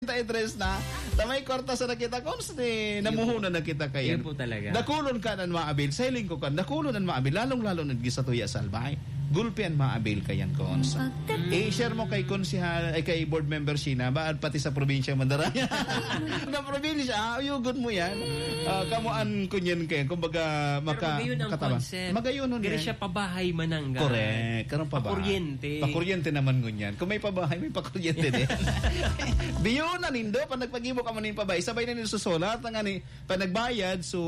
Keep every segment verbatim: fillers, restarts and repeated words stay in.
Treinta y tres na, ta may kwarta sa nakita, Cons, ni namuhunan na kita kayan. Yun po talaga. Dakulon ka nan maabil, sa hiling ko kan, dakulon an maabil, lalong-lalo na digdi sa tuya sa Albay. Gulpi an maabil kayan, Cons. I-share mo kay Konsehal, ay, kay Board Member Sheena, ba, pati sa probinsya Mandaraya. Na probinsya, ah, uyugon mo yan. Ah, kamo an kunyan kayan, kumbaga, Pero maka-, magayon ang makatabang. Concept. Magayon nun Diri yan. Siya pabahay manangga. Correct. Karong pabahay. Pakuryente. Pakuryente naman ngunyan. Kung may pabahay, may pakuryente din. Biyo na nindo, pag nagpagibo ka man nin pabahay, sabay na nindo susulat, ang ani, pag nagbayad, so,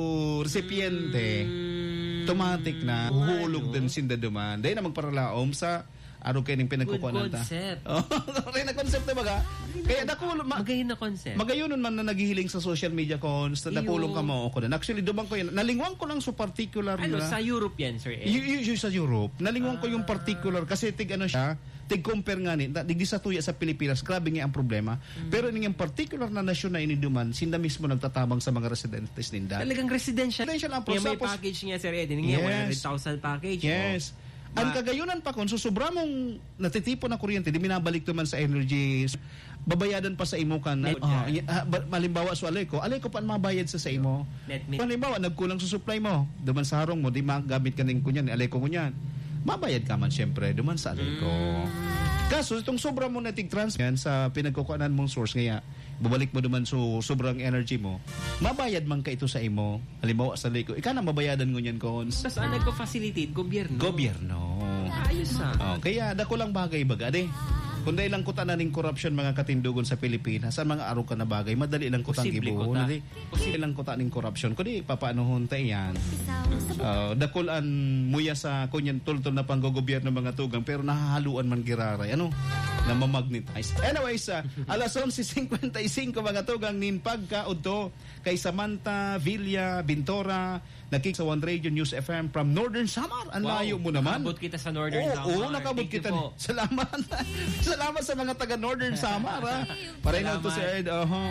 resipiente, Mm. automatic na, Oo nga, huhulog no? Din sinda duman. Dahil na magparalaom sa, araw kayo ning pinagkukuhanan Good ta. Concept. Oh, sorry na concept na baga. Kaya nakulo, ma-, Magayon na concept. Magayon man na naghihiling sa social media, Cons, na Iyo. Nakulong ka mo ako na. Actually, duman ko yun. Nalingwan ko lang sa particular Ano, na sa Europe yan, Sir Ed? Yu-, yu-, yu-, sa Europe. Nalingwan ko yung Ah. Particular kasi tig ano siya, tig compare nga ni, na, digdi sa tuya sa Pilipinas, grabe nga ang problema. Mm. Pero ini yung particular na nasyon na iniduman, sinda mismo nagtatabang sa mga residentes ninda. Talagang residential. Residential ang Kaya may process. Package niya, Sir Ed. Hindi niya Yes. One hundred thousand package, Yes. oh. Ang Ma- kagayunan pa, kung susubra mong natitipon na kuryente, di minabalik naman sa energy, babayadan pa sa imo kan, Net oh, yan. Y-, ah, ba-, halimbawa, so alay ko, alay ko pa ang mabayad sa, sa imo. Net min- Halimbawa, nagkulang sa supply mo, duman sa harong mo, di magamit ka ning kunyan, alay ko kunyan. Mabayad ka man, syempre, duman sa alay ko. Mm. Kaso, itong sobra mo na tig-trans yan sa pinagkukuhanan mong source, ngaya, babalik mo duman so sobrang energy mo, mabayad man ka ito sa imo. Halimbawa, sa liko, ika na mabayadan ngunyan, Cons. Tas ang nagpa-facilitate, gobyerno. Gobyerno. Ayos, ah. Oh, kaya dakulang bagay baga, di? Kung dahil lang kuta na ning korupsyon, mga katindogon sa Pilipinas, ang mga arog ka na bagay, madali lang kutang Posible gibuhon, kuta. Di? Posible lang kuta ning korupsyon. Kundi, papaanohon ta iyan? Oh, dakul an muya sa kunyan tultol na panggogobyerno, mga tugang, pero nahahaluan man giraray. Ano? Na mamagnetize. Anyways, ah, alas onse cincuenta y cinco, mga tugang, nin pagkaudto, kay Samantha Villa Bintora, nakik sa One Radio News F M from Northern Samar. Ang Wow. Layo mo naman. Nakabot kita sa Northern Oo, Samar. Oo, nakabot Thank you kita. Po. Salamat. Salamat sa mga taga Northern Samar, ha. Ay, Pareho to, salamat. Sir Ed. Oho.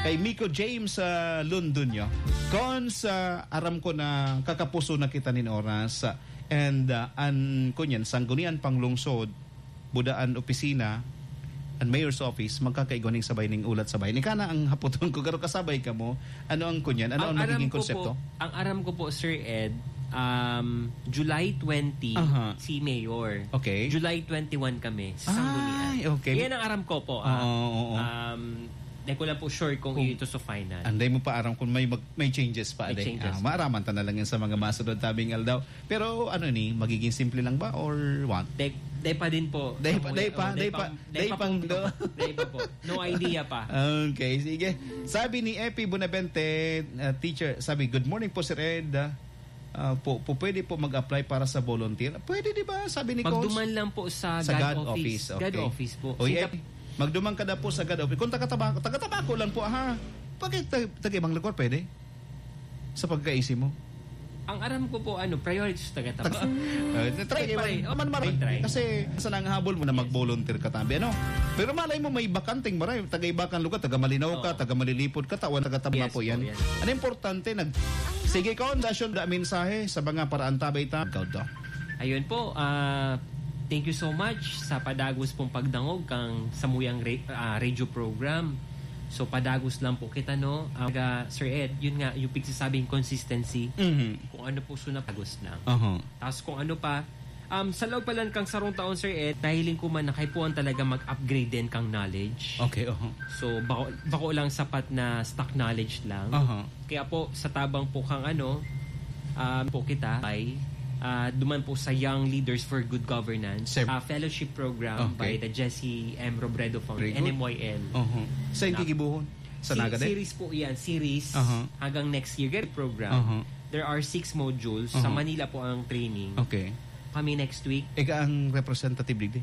Kay Miko James, ah, Londonio. Cons, ah, aram ko na kakapuso na kita nin oras. Ah, and, ah, an, kunyan, sanggunian pang lungsod, budaan opisina, an mayor's office, magkakaigwa ning sabay ning ulat sabay. Nika na ang hapoton ko, garo kasabay ka mo. Ano ang kunyan? Ano ang Ang aram nagiging ko konsepto? Po, ang aram ko po, Sir Ed, um, July twenty, Aha. Si Mayor. Okay. July twenty-one kami, sa Sanggunian. Ay, okay. Yan ang aram ko po, ah. Oo, oo, oo. Um, di ko lang po sure kung Kung ito sa final. Anday mo pa aram kung may mag-, may changes pa, May ade. Changes Ah, pa. Maaraman ta na lang yan sa mga masunod tabing aldaw. Pero ano ni, magiging simple lang ba or what? Day, day pa din po. Day pa, Kamuya, day pa, oh, day day pa, pa, day day pa pa pong, do. Day pa po. No idea pa. Okay, sige. Sabi ni Epi Bonavente, uh, teacher, sabi, "Good morning po, Sir Ed. Ah, po, po, pwede po mag-apply para sa volunteer?" Pwede, di ba? Sabi ni Coach. Magduman lang po sa Sa God God office. Office, God okay. office po. O, Singap- Epi, magduman ka na po sa God office. Kung taga-Tabaco, taga-Tabaco lang po, ha? Bakit ta-, taga ibang lugar, pwede? Sa pagkaisip mo? Ang aram ko po, ano, priority sa taga-Tabaco. Eh, try, Try, man, try. Man, maray. Try. Kasi sa nanghabol mo na mag-volunteer ka tabi, ano? Pero malay mo, may bakanteng maray. Taga iba kang lugar, taga Malinaw ka, Oo. Taga Malilipod ka, tawan taga Tabaco Yes po, yan. Yes. Ano importante, nag-, sige, Con, dasyon da mensahe sa mga paraan tabay ta. Ikaw daw. Ayun po, ah, thank you so much sa padagos pong pagdangog kang samuyang re-, ah, radio program. So, padagos lang po kita, no? Ang, ah, Sir Ed, yun nga, yung pigsasabing consistency, Mhm. Kung ano po so napagos na. Aha. Tapos kung ano pa, um, sa loob pa lang kang sarong taon, Sir Ed, nahiling ko man na kaipuhan talaga mag-upgrade din kang knowledge. Okay, aha. So, bako, bako lang sapat na stock knowledge lang. Aha. Kaya po, sa tabang po kang ano, um, po kita ay, ah, duman po sa Young Leaders for Good Governance, Sir. Ah, fellowship program Okay. By the Jesse M Robredo Foundation, Very good. N M Y L. Aha. Sa Na- gigibuhon? Sa Si-, Naga din? Series po yan, series. Aha. Hanggang next year, ganyan program. Aha. There are six modules. Sa Aha. Manila po ang training. Okay. Kami next week. Ika ang representative digdi?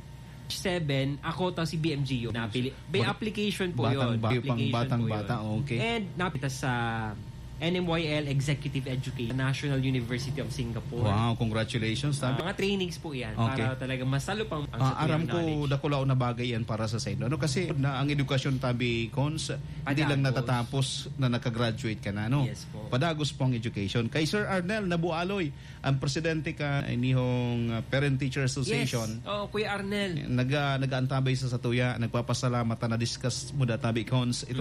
Seven, ako ta si B M G U. Napili. May Mag-, application po batang yun. Ba-, pang Application batang po bata, yun. Okay. And napita sa N M Y L Executive Education, National University of Singapore. Wow, congratulations, Ah, tabi. Mga trainings po yan Okay. Para talaga mas lalo pang ang Ah, sa aram kanyang ko, knowledge. Dakulaw na bagay yan para sa saindo. Ano kasi na ang edukasyon tabi, Cons, hindi lang Padagos. Natatapos na nakagraduate ka na, no? Yes po. Padagos po ang education. Kay Sir Arnel Nabualoy, ang presidente ka inihong, ah, Parent Teacher Association. Yes. Oh, Kuya Arnel. Nag-, ah, nag-aantabay sa satuya, nagpapasalamat na na-discuss mo da tabi, Cons, ito